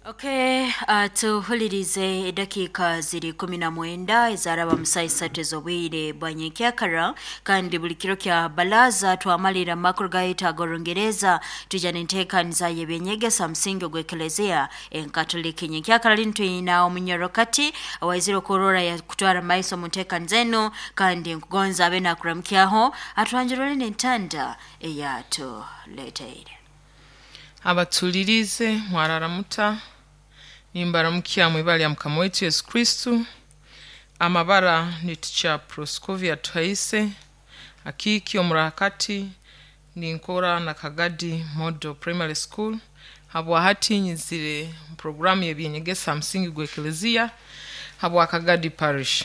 Okay, tuhulirize edakika ziri 19 ezaraba musayi 3 ez'obwire bwa nyenkyakara, kandi buli kiro kya balaza twamalira amakuru gaitu ag'orungereza tuja n'enteekaniza y'ebyenyegesa musingi ogw'ekelezia enkatoliki. Nyenkyakara linu twina omunyorokati owaizire okurora yakutwara maiso omu nteekaniza enu, kandi nkugonza abe nakuramukyaho atwanjurire n'entanda eyatuleteire. Abatulirize mwararamuta, nimbaramukya mwibara lya Mukama waitu Yesu Kristu. Amabara ni Teacher Proscovia Tuhaise Akiiki omurakati, ninkora na Kagadi Model Primary School. Habwahati nyizire mu programu y'ebyenyegesa musingi gw'ekelezia habwa Kagadi Parish.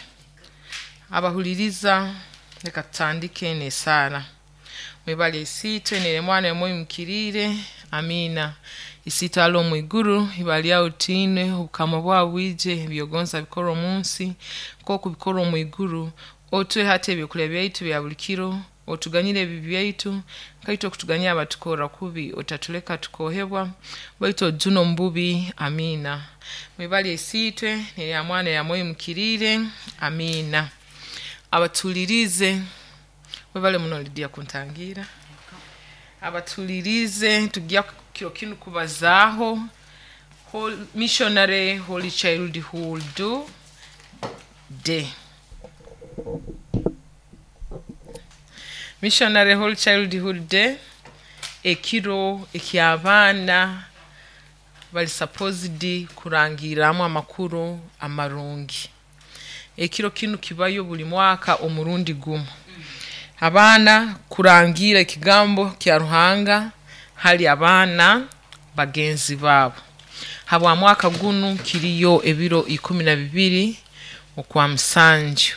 Abahuliriza, leka tutandike n'esaara. Mwibale isiitwe neremwana emwimukiriire, amiina. Isiitwe ali omu iguru, ibara lyawe litiinwe, obukama bwawe bwije, ebyogonza bikorwe omu nsi nk'oku bikorwa omu iguru. Otuhe hati ebyokulya byaitu bya buli kiro, otuganyire ebibi byaitu nkaitwe okutuganyira abatukorra kubi, otatuleka tukohebwa, baitu otujune omu bubi, amiina. Mwibale isiitwe nerya mwana erya mwoyo mukiriire, amiina. Abatulirize, webale muno Lydia kuntangira. Abatulirize, tujya kiro kinu kubazaaho Missionary Holy Childhood Day. Missionary Holy Childhood Day, ekiro eky'abaana bali supposed kurangirramu amakuru amarungi. Ekiro kinu kibayo buli mwaka omurundi gumu. Abaana kurangira ekigambo kya Ruhanga hali abaana bagenzi baabo. Habwa mwaka gunu kiriyo ebiro 12 okwa musanju.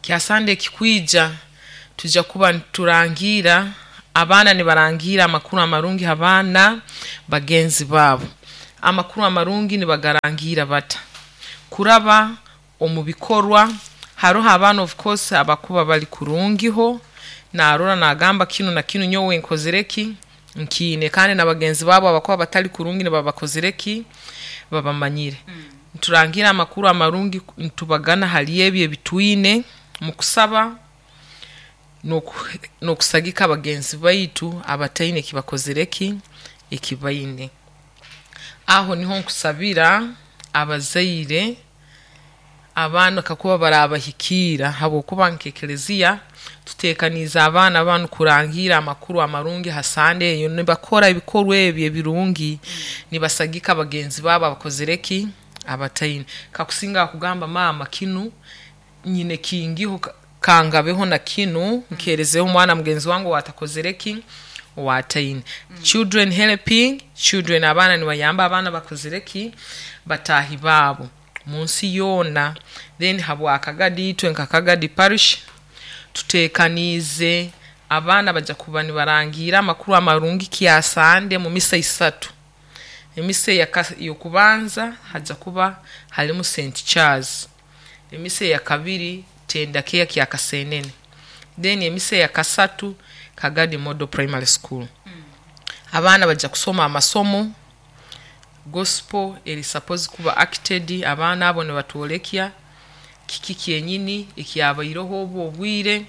Kya Sande ekikwija tujja kuba niturangira, abaana nibarangira amakuru amarungi abaana bagenzi baabo. Amakuru amarungi nibagarangira bata? Kuraba omu bikorwa. Haroho abaana of course abakuba bali kurungiho, narora nagamba kinu na kinu nyowe nkozire ki nkiine, kandi na bagenzi baabo abakuba batali kurungi nibabakozire ki babamanyire. Niturangira amakuru amarungi nitubagana hali ebi ebitwine mu kusaba n'okusagika bagenzi baitu abataine ekibakozire ki ekibaine. Aho niho nkusabira abazaire abaana kakuba barabahikiira, habwokuba nk'ekelezia tuteekaniize abaana banu kurangira amakuru amarungi ha Sande eyo, nibakora ebikorwa ebi ebirungi, nibasagika bagenzi baabo abakozire ki abataine. Kakusinga akugamba maama kinu nyine kingiho, kangabeho na kinu nkeerezeho omwana mugenzi wange owatakozire ki owataine. Children helping children, abaana nibayamba abaana bakozire ki bataahi baabo munsi yoona. Then habwa Kagadi itwe nka Kagadi Parish tuteekaniize abaana bajja kuba nibarangira amakuru amarungi kya Sande mu misa 3. Emisa ey'okubanza hajja kuba harimu St Charles, emisa eyakabiri Tendakea kya Kasenene, then emisa eyakasatu Kagadi Model Primary School. Abaana bajja kusoma amasomo gospel eri supposed kuba acted, abaana abo nibatwolekya kiki kyenyini ekyabaireho obu obwire.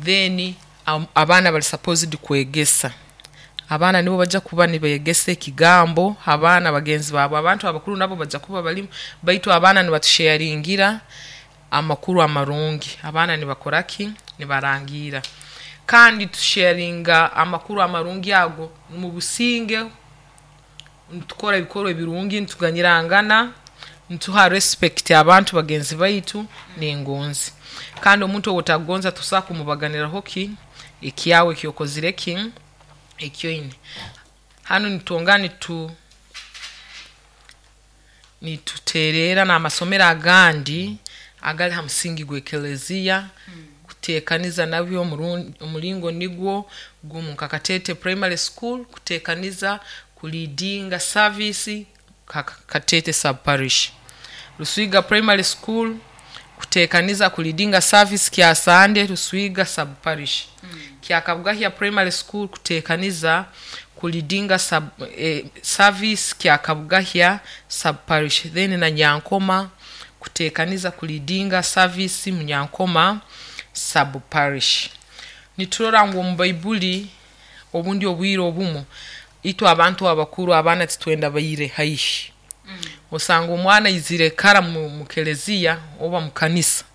Then abaana bali supposed kwegesa, abaana nibo bajja kuba nibegesa ekigambo abaana bagenzi baabo. Abantu abakuru nabo bajja kuba balimu, baitu abaana nibatusharingira amakuru amarungi. Abaana nibakora ki? Nibarangira. Kandi tusharinga amakuru amarungi ago mu businge, nitukora ebikorwa ebirungi, nituganyirangana, nituha respect abantu bagenzi baitu n'engonzi. Kandi omuntu ou otakugonza tosobola kumubaganiraho ki ekyawe ekyokozire ki ekyoine. Hanu nitwongera nituteerera n'amasomero agandi agali ha musingi gw'ekelezia kuteekaniza nabyo omulingo nigwo gumu, nka Katete Primary School kuteekaniza kuleadinga service Katete sub parish. Ruswiga Primary School kuteekaniza kuleadinga service kya Sande Ruswiga sub parish. Kyakabugahya Primary School kuteekaniza Kulidinga sub, service kya Kabugahya sub parish, then na Nyankoma kutekaniza kulidinga service mu Nyankoma sub parish. Niturora ngu omu Baibuli obundi obwire obumu itwe abantu abakuru abaana titwenda baire haihi. Osanga omwana aizire kara mu keleziya oba mu kanisa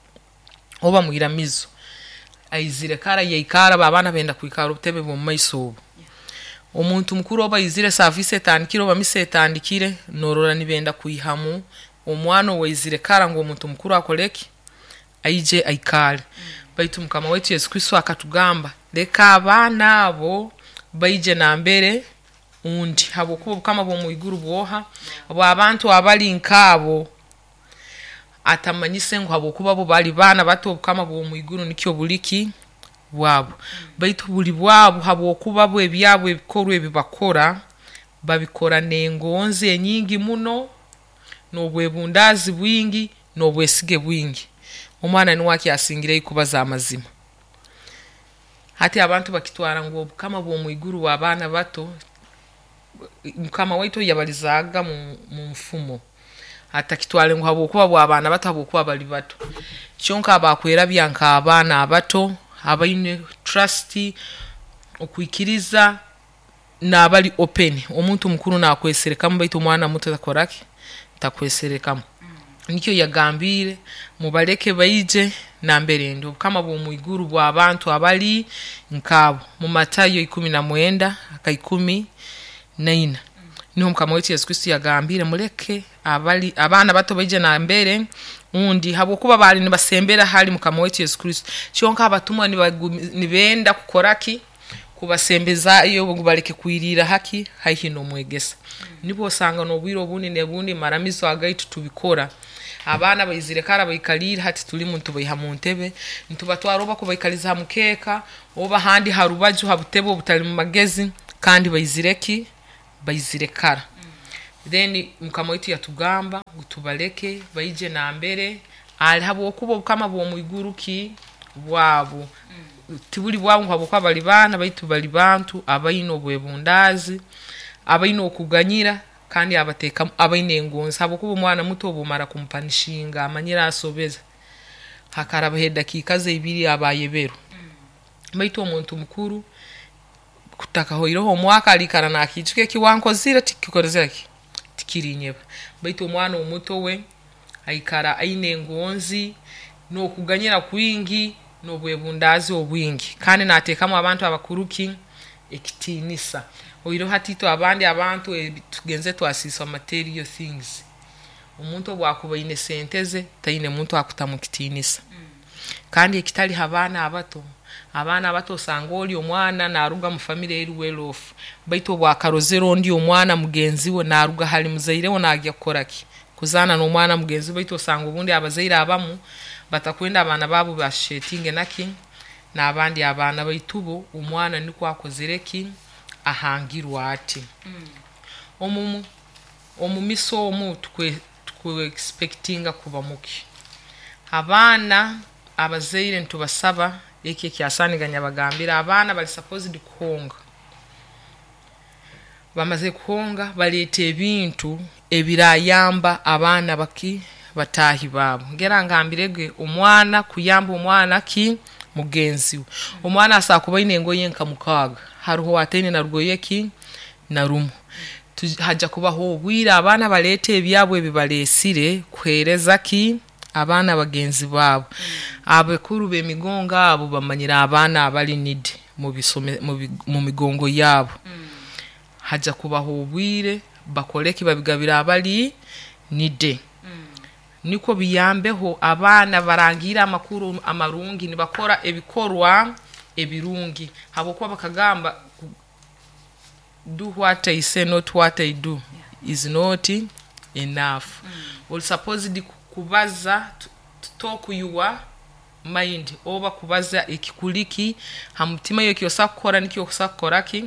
oba mu iramizo, aizire kara yaikara, abaana benda kwikara obutebe bw'omu maiso obu. Omuntu mukuru oba aizire saavisi etandikire oba misa etandikire, norora nibenda kwihamu omwana owaizire kara ngu omuntu mukuru akole ki? Aije aikale. Baitu Mukama waitu Yesu Kristo akatugamba, leka abaana abo baije nambere undi, habwokuba obukama bw'omu iguru bwoha? Bw'abantu abali nkaabo. Atamanyise ngu habwokuba bo bali baana bato obukama bw'omu iguru nikyo buli ki? Bwabo. Baitu buli bwabo habwokuba bo ebyabo ebikorwa ebi bakora babikora n'engonzi enyingi muno, n'obwebundaazi bwingi, n'obwesige bwingi. Omwana nuwe akyasingireyo kubaza amazima. Hati abantu bakitwara ngu obukama bw'omu iguru bw'abaana bato, Mukama waitu yabalizaaga mu nfumo, atakitwale ngu habwokuba bw'abaana bato habwokuba bali bato. Kyonka abakwerabya nk'abaana abato abaine trust, okwikiriza, n'abali open. Omuntu mukuru nakweserekamu baitu omwana muto takora ki? Takweserekamu. Nikyo yagambiire mubaleke baije nambere ndi. Obukama bw'omu iguru bw'abantu abali nkaabo. Mu Matayo 19 aka 14 niho Mukama waitu Yesu Kristo yagambiire muleke abali abaana bato baije nambere undi, habwokuba baali nibasembera hali Mukama waitu Yesu Kristo. Kyonka abatumwa nibenda kukora ki? Kubasembezaayo ngu baleke kwiriira haki? Haihi n'omwegesa. Nibwo osanga n'obwire obundi n'ebundi maramizo agaitu tubikora. Abaana baizire kara baikaliire, hati tulimu nitubaiha mu ntebe, nitubatwara oba kubaikaliza ha mukeeka oba handi ha rubaju ha butebe obutali mu magezi, kandi baizire ki? Baizire kara. Then Mukama waitu yatugamba ngu tubaleke baije nambere ali, habwokuba obukama bw'omu iguru ki? Bwabo. Tibuli bwabo ngu habwokuba bali baana, baitu bali bantu abaine obwebundaazi, abaine okuganyira, kandi abateekamu abaine engonzi, habwokuba omwana muto obu omara kumupanishinga amanyire asobeze, hakarabaho edakiika ze ibiri aba ayeberwe. Baitu omuntu mukuru kutakahoireho omwaka aliikara nakiijuka eki wankozire tikikozire ki? Tikirinyeba. Baitu omwana omuto we aikara aine engonzi n'okuganyira kwingi n'obwebundaazi obwingi, kandi nateekamu abantu abakuru ki? Ekitiinisa. Oihireho hati itwe abandi abantu tugenze twasiisa material things. Omuntu obu akuba aine sente ze, taine muntu akutamu kitiinisa. Kandi ekitali ha baana abato, abaana abato osanga oli omwana naruga mu famire eri well off, baitu obu akarozere ondi omwana mugenzi we naruga hali muzaire we nagya kukora ki? Kuzaana n'omwana mugenzi we, baitu osanga obundi abazaire abamu batakwenda abaana baabo bashetinge naki? N'abandi abaana, baitu bo omwana nikwo akozere ki? Ahangirwe ati. Omu misa omu tukwe expectinga kuba muki? Abaana abazaire nitubasaba eki ekyasaaniganya bagambire, abaana bali supposed kuhonga. Bamaze kuhonga baleeta ebintu ebirayamba abaana baki? Bataahi baabo. Ngera ngambirege omwana kuyamba omwana ki? Mugenzi we. Omwana asobola kuba aine engoye nka 6, haroho ow'ataine na rugoye ki? Na rumu. Haja kubaho obwire abaana baleeta ebyabo ebi baleesire kuheereza ki? Abaana bagenzi baabo. Abakuru b'emigongo abo bamanyire abaana abali needy mu migongo yaabo. Haja kubaho obwire bakole ki? Babigabire abali needy. Nikwo biyambeho abaana barangirre amakuru amarungi nibakora ebikorwa ebirungi, habwokuba bakagamba do what I say not what I do is not enough. Oli supposed kubaza to talk your mind oba kubaza ekikuli ki ha mutima, iwe eki osobola kukora nikyo osobola kukora ki?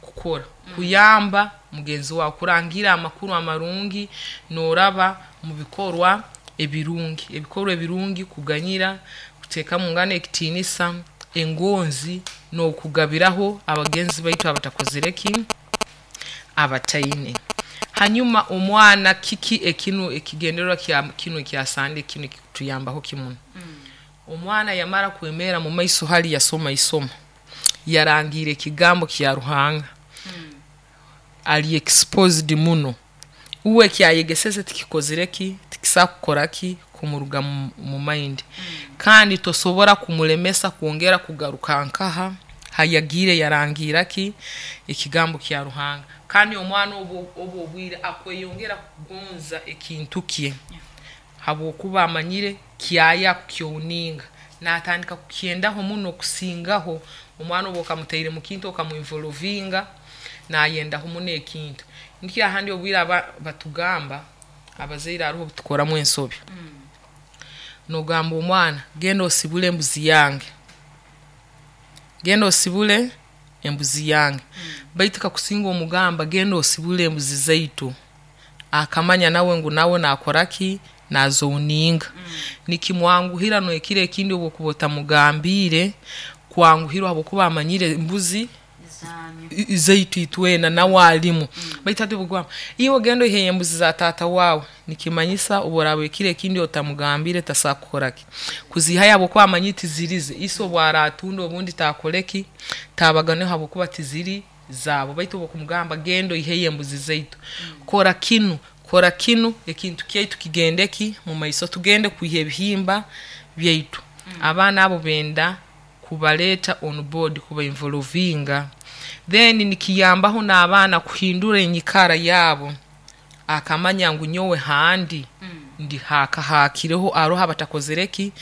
Kukora. Kuyamba mugenzi waawe, kurangira amakuru amarungi nooraba mu bikorwa ebirungi. Ebikorwa ebirungi kuganyira, kuteekamu ngana ekitiinisa, engonzi n'okugabiraho abagenzi baitu abatakozire ki? Abataine. Hanyuma omwana kiki ekinu ekigendererwa kya kinu ekya Sande kinu ekituyambaho kimuno. Omwana yamara kwemera mu maiso hali yasoma isomo, yarangiira ekigambo kya Ruhanga, ali exposed muno. Uwe ekyayegeseze tikikozire ki, tikisobora kukora ki, kumuruga mu mind. Kandi tosobora kumulemesa kwongera kugaruka nkaha hayagiire yarangiira ki ekigambo kya Ruhanga. Kandi omwana obu obwire akweyongera kugonza ekintu kye, habwokuba amanyire kyaya kukyowninga, natandika kukyendaho muno kusingaho. Omwana obu okamutaire mu kintu okamuinvolvinga, nayendaho muno ekintu. Nikyo ahandi obwire batugamba abazaire haroho obutukoramu ensobi. Nogamba omwana genda osibule embuzi yange, genda osibule embuzi yange, baitu kakusinga omugamba genda osibule embuzi zaitu, akamanya nawe ngu nawe nakora ki, nazowninga. Nikimwanguhira n'ekiro ekindi obu okuba otamugambiire kwanguhirwa, habwokuba amanyire embuzi zaitu itwena nawe alimu. Baitu hati obugamba iwe genda oiheyo embuzi za taata waawe, nikimanyisa obu oraaba ekiro ekindi otamugambiire tasobola kukora ki, kuziihayo, habwokuba amanyire tizirize. Ise obu aratunda obundi taakole ki, taabaganeho, habwokuba tiziri zaabo. Baitu obu okumugamba genda oiheyo embuzi zaitu, kora kinu, kora kinu, ekintu kyaitu kigende ki mu maiso, tugende kwiha ebihimba byaitu. Abaana abo benda kubaleeta on board, kubainvolvinga. Then nikiyambaho n'abaana kuhindura enyikara yaabo, akamanya ngu nyowe handi ndi hakahakireho, haroho abatakozire ki,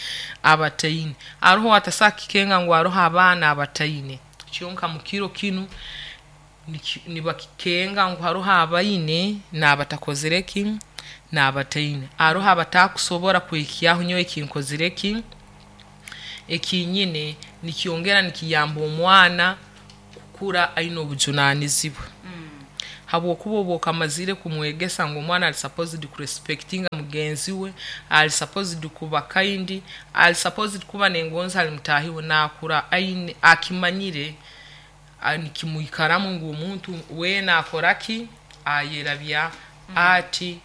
abataine. Haroho atasobola kukikenga ngu haroho abaana abataine, kyonka mu kiro kinu nibakikenga ngu haroho abaine n'abatakozire ki, n'abataine. Haroho abatakusobora kwehikyaho nyowe ekinkozire ki, ekinyine. Nikyongera nikiyamba omwana kukura aine obujunanizibwa, habwokuba obu okamazire kumwegesa ngu omwana ali supposed kurespectinga mugenzi we, ali supposed kuba kind, ali supposed kuba n'engonzi hali mutaahi we, naakura aine akimanyire, nikimwikaramu ngu omuntu weena akora ki, ayerabya ati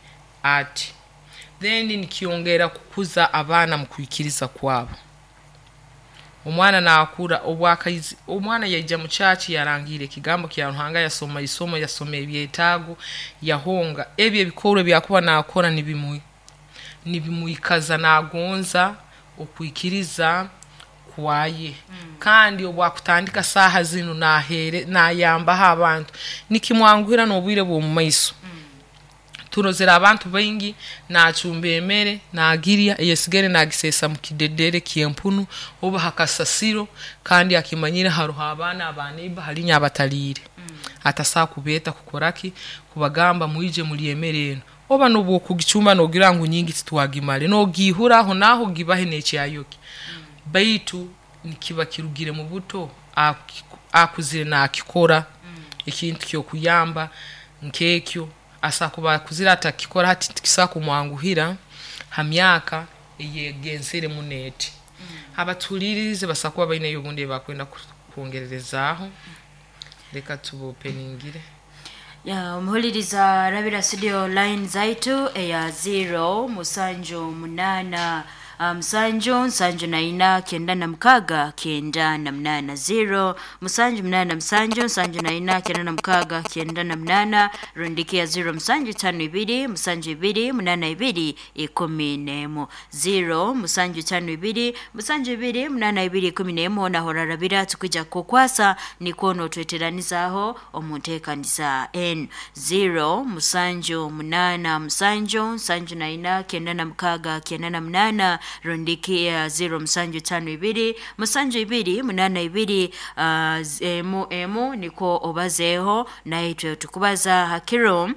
ati. Then nikyongera kukuza abaana mu kwikiriza kwabo. Omwana naakura omwana yaija mu church yarangiira ekigambo kya Ruhanga, yasoma isomo, yasoma ebyetaago, yahonga ebi ebikorwa ebyakuba naakora nibimwikaza nagonza okwikiriza kwaye. Kandi obu akutandika saaha zinu nayambaho abantu, nikimwanguhira n'obwire bw'omu maiso. Turozere abantu baingi nacumba emere nagirya, eyesigere nagiseesa mu kidedere ky'empunu oba ha kasasiro, kandi akimanyire haroho abaana aba neighbor halinya abataliire, atasobola kubeeta kukora ki, kubagamba mwije mulye emere enu. Oba nobu okugicumba nogira ngu nyingi titwagimara, nogiihura aho naaho ogibahe n'ekyayoki. Baitu nikiba kirugire mu buto, akuzire nakikora ekintu ky'okuyamba nk'ekyo. Asobola kuba akuzire atakikora hati, tikisobola kumwanguhira ha myaka eyegenzere muno eti. Abatuhuliirize basobola kuba baineyo obundi ebi bakwenda kwongererezaaho, leka tubopeningire. Omuhuliriza rabira studio line zaitu eya 0 7 8 7 74 96 98, 0 7 8 7 74 96 98, rundiki ya 0 7 5 2 7 2 8 2 11, 0 7 5 2 7 2 8 2 11. Nahora rabira tukwija kukwasa nikwo notweteranizaho omu nteekaniza n 0 7 8 7 74 96 98, rundiki ya 0 7 5 2 7 2 8 2 emu emu, nikwo obazeeho naitwe tukubaza hakiro.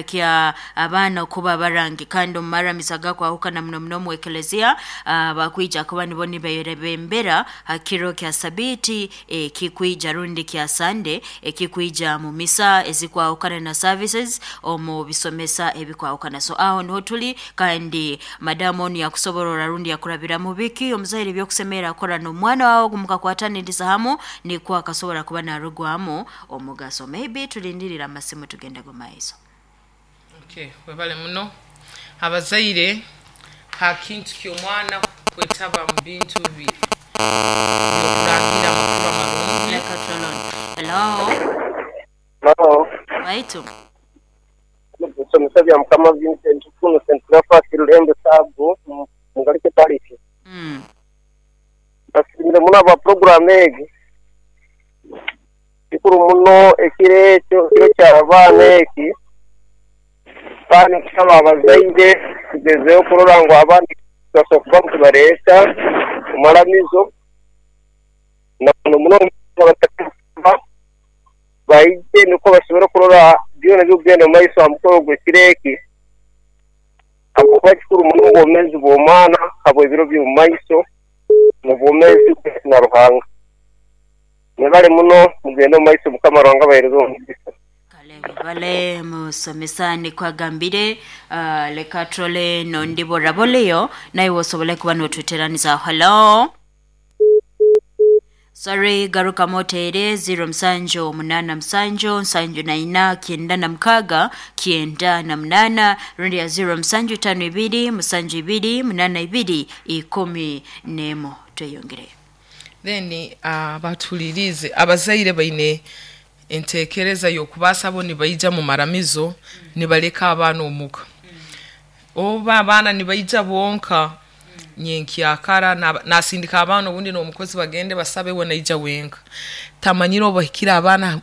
Kya abaana kuba barangi kandi omumaramizo agakwahukana muno muno mu eklezia, bakwija kuba nibo niberebembera ha kiro kya sabiiti ekikwija rundi kya Sande ekikwija mu misa ezikwahukana na services omu bisomesa ebikwahukana. So aho niho tuli, kandi madamu onu yakusoborora rundi yakurabiramu biki omuzaire ebyokusemerra akora n'omwana wawe mukakwataniriza hamu nikwo akasobora kuba narugwamu omugaso. Maybe tulindirire amasimu tugende gomaiso. Okay, webale muno. Abazaire, ha kintu ky'omwana kwetaba mu bintu by'okurangira amakuru amarungi. Leka trolon. Hello. Hello. Waitu. Kusomesa bya Mukama Vincent kuno St. Cleophas Rulembe Saabu Mugalike Parish. Basimire muno aba program egi. Kikuru muno ekiro ekyo, ekiro ky'abaana eki. Kandi kusaba abazaire tugezeho kurora ngu abaana tubasobola kuba nitubareeta omu maramizo na muno muno baije nukwo basobole kurora byona ebikugenda omu maiso ha mukoro gw'ekiro eki, habwokuba kikuru muno obwomeezi bw'omwana habw'ebiro by'omu maiso n'obwomeezi bwe na Ruhanga. Mwebale muno, mugende omu maiso, Mukama Ruhanga abaheereze omugisa. Kale bale musomesa nikwagambire, leka trole nondi boraboleyo naye wosobole kuba notweteraniza. Hello. Sorry, garuka motere 0787 74 96 98 rundi ya 0752 72 82 11. Tweyongere. Then batulirize abazaire baine entekereza y'okubaasa bo nibaija mu maramizo nibaleka abaana omuka, oba abaana nibaija bonka nyenkyakara nasindika abaana obundi n'omukozi bagende basabe, we naija wenka, tamanyire oba bahikire abaana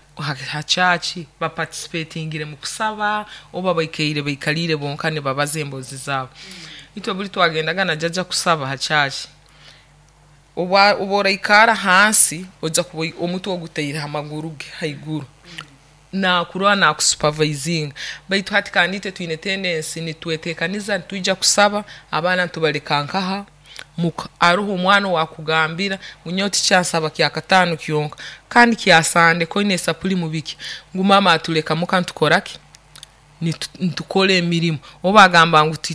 ha church baparticipatingire mu kusaba oba baikaire baikalire bonka nibabaza emboozi zaabo. Itwe buli twagendaga na jjajja kusaba ha church, oba oraikara hansi ojja kuba omutwe ogutaire ha maguru ge haiguru, nakurora nakusupervisinga. Baitu hati kandi itwe twine tendency nitwetekaniza nitwija kusaba, abaana nitubaleka nkaha muka. Aroho omwana owakugambira ngu nyowe tikyansaba kyakataano kyonka kandi kyasande koine esapuli mubiki, ngu mama atuleka muka ntukora ki, nitukora emirimo, oba agamba ngu.